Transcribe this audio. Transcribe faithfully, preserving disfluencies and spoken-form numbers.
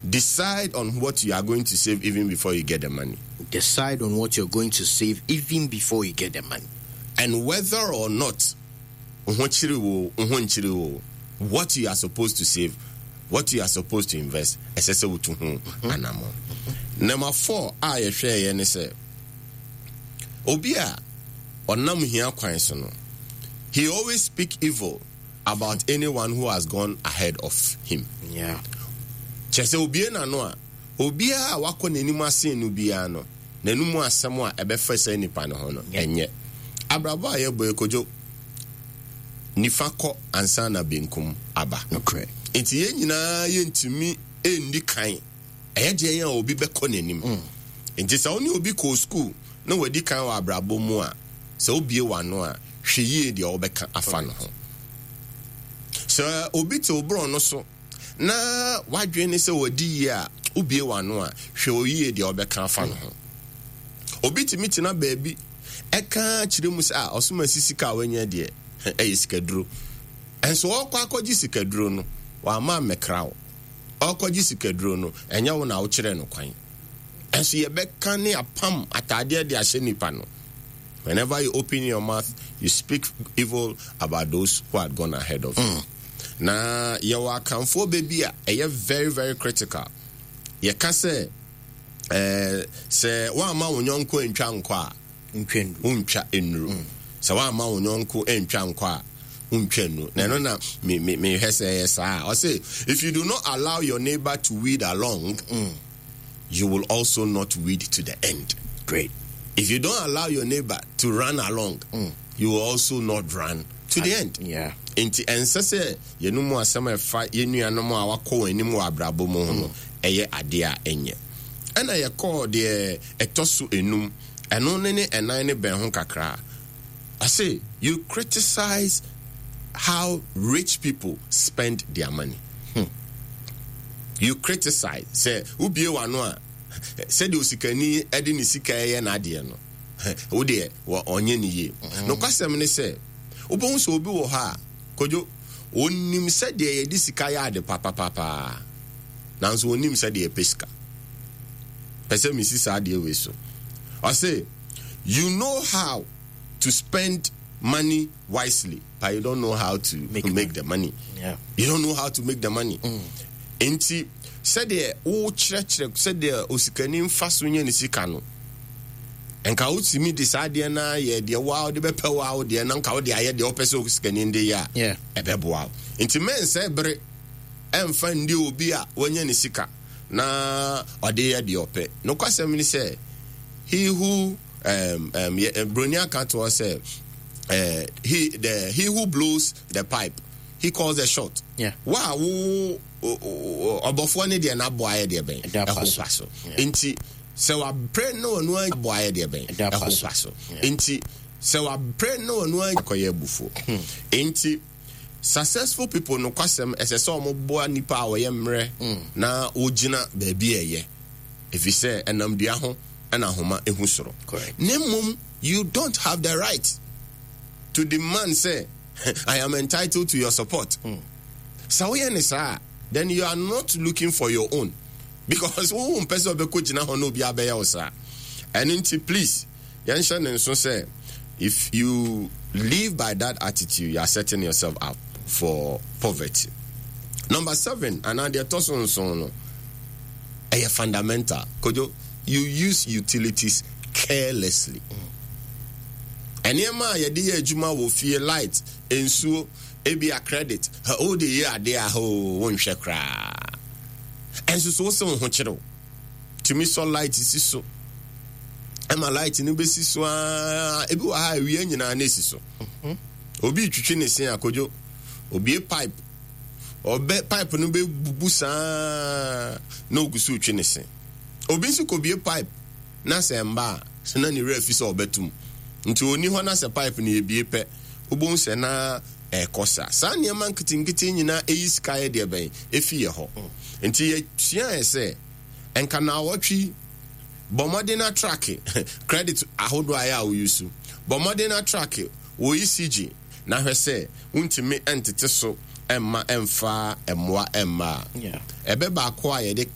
Decide on what you are going to save even before you get the money. Decide on what you're going to save even before you get the money. And whether or not what you are supposed to save, what you are supposed to invest, ɛsɛ sɛ wotu ho anamo. Number four a yɛhwɛ yɛ ne sɛ obi a ɔnam hia kwan so no, he always speak evil about anyone who has gone ahead of him. Yeah. Kyerɛ sɛ obie n'ano a, obiara a wakɔ n'anim asen no biara no, n'anim asɛm a ɛbɛfa sɛ nipa no ho no, ɛnyɛ. Abrabɔ a yɛbɔ ekodwo, nifa kɔ ansa na benkum aba. Okay. Nti yɛn nyinaa yɛntumi nni kan. Ɛyɛ deɛ yɛn a obi bɛkɔ n'anim. Nti sɛ wo ne obi kɔ school na wadi kan wɔ abrabɔ mu a, sɛ wobie w'ano a, hwɛ yie deɛ wɔbɛka afa no ho. Sɛ obi te wo borɔ no so na wadwene ne sɛ wadi yie a, wobie w'ano a, hwɛ oyie deɛ wɔbɛka afa no ho. Obi tumi tena baabi ɛka kyerɛ mu sɛ a ɔsom asi sika a wanya deɛ ɛyɛ sikaduro. Ɛnso ɔkɔ akɔgye sikaduro no, wama mmɛkra wo. Ɔkɔgye sikaduro no, ɛnyɛ wo na wokyerɛ no kwan. Ɛnso yɛbɛka ne apam ataadeɛ de ahyɛ nipa no. Whenever you open your mouth, you speak evil about those who had gone ahead of you. Mm. Na yɛwɔ akamfoɔ baabi a ɛyɛ very very critical. Yɛka sɛ ɛɛ sɛ woamma wo nyɔnko antwa nkɔ a, wontwa nnuru. Mm. Sɛ woamma wo nyɔnko antwa nkɔ a, wontwa nnuru. Na ɛno na me me mehwɛ sɛ ɛyɛ saa. Ɔse if you do not allow your neighbor to weed along, mm. you will also not weed to the end. Great. If you don't allow your neighbor to run along, mm. you will also not run to the end. Yeah. Nti ɛnsɛ sɛ yɛn mu asɛm a ɛfa yɛn nuanom a wakɔ wɔn anim wɔ abrabɔ mu ho no ɛyɛ adeɛ a ɛnyɛ. Ɛna yɛkɔɔ deɛ ɛtɔ so enum, ɛno ne ne ɛnan ne bɛn ho kakra. I you criticize how rich people spend their money. Hmm. You criticize. Sɛ wobie w'ano a, sɛdeɛ osikani ɛde ne sika ɛyɛ n'adeɛ no, wo deɛ ɔnyɛ ne yie. Nokwasɛm ne sɛ, wobɛhu sɛ obi wɔ hɔ a, Kodwo, onim sɛdeɛ yɛde sika yɛ ade papapapaa, nanso onim sɛdeɛ yɛpɛ sika. Pɛ sɛ mesi saa adeɛ wei so. Ɔse, you know how to spend money wisely, but you don't know how to make, make the money. Yeah. You don't know how to make the money. Mm. Nti, sɛdeɛ wokyerɛkyerɛ sɛdeɛ osikani mfa so nyɛ ne sika no, nka wotumi de saa adeɛ no ayɛ deɛ woa wode bɛpɛ wo a wo deɛ na nka wode ayɛ deɛ wopɛ sɛ osikani de yɛ a, ɛbɛboa wo. Nti mɛnsɛ bere ɛmfa ndi obi a wanya ne sika na ɔde yɛ deɛ ɔpɛ. Nokwasɛm ne sɛ, he who um, um, broni aka to us sɛ, uh, he the he who blows the pipe, he calls the shot. Yeah. Wa wo ɔbɔfoɔ ne deɛ n'abɔ ayɛ deɛ bɛn ɛho pa so. Nti sɛ wapere na ɔno abɔ ayɛ deɛ bɛn ɛho pa so. Nti sɛ wapere na ɔno akɔyɛ abufuo. Nti successful people no kwasɛm ɛsɛ sɛ ɔmo boa nipa a ɔyɛ mmerɛ na wogyina baabi a ɛyɛ. Ɛfiri sɛ ɛnam dua ho ɛna ahoma ehu soro. Ne mmom you don't have the right to demand say I am entitled to your support. Mm. Sɛ woyɛ ne saa, then you are not looking for your own. Because wo mpɛ sɛ ɔbɛkɔ gyina hɔ na obi abɛyɛ wo saa. Ɛno nti please yɛnhyɛ ne nso sɛ if you live by that attitude, you are setting yourself up for poverty. Number seven, anaa deɛ ɛtɔ so nson no, ɛyɛ fundamental. Kojo, you use utilities carelessly. Nneɛma a yɛde yɛ adwuma wɔ fie, light, nsuo, ebia credit, wode yɛ adeɛ a ho wonhwɛ koraa. Ɛnso so wosɛ wo ho kyerɛw. Tumi sɔ light si so. Ɛma light no bɛsi so aa, ebi wɔ ha awia nyinaa na esi so. Obi twitwi ne se akodwo, obie pipe, ɔbɛ pipe no bɛbubu saa na ogu so twi ne se. Obi nso kɔbie pipe na sɛ mba a, na ne werɛ afi sɛ ɔbɛtum. Nti ɔni hɔ na sɛ pipe no yɛbie pɛ, wobɛhu sɛ na ɛkɔ saa. Saa nneɛma nketenkete nyinaa ɛyi sika yɛ deɛ bɛn ɛfi yɛ hɔ. Nti yɛsuaeɛ sɛ nka naawɔtwe bɔ mmɔden na track credit ahodoɔ a ɛyɛ a woyi so. Bɔ mmɔden na track wɔ E C G na hwɛ sɛ wontumi ntete so ɛmma ɛmfa mmoa ɛmma a. Ɛbɛ baako a yɛde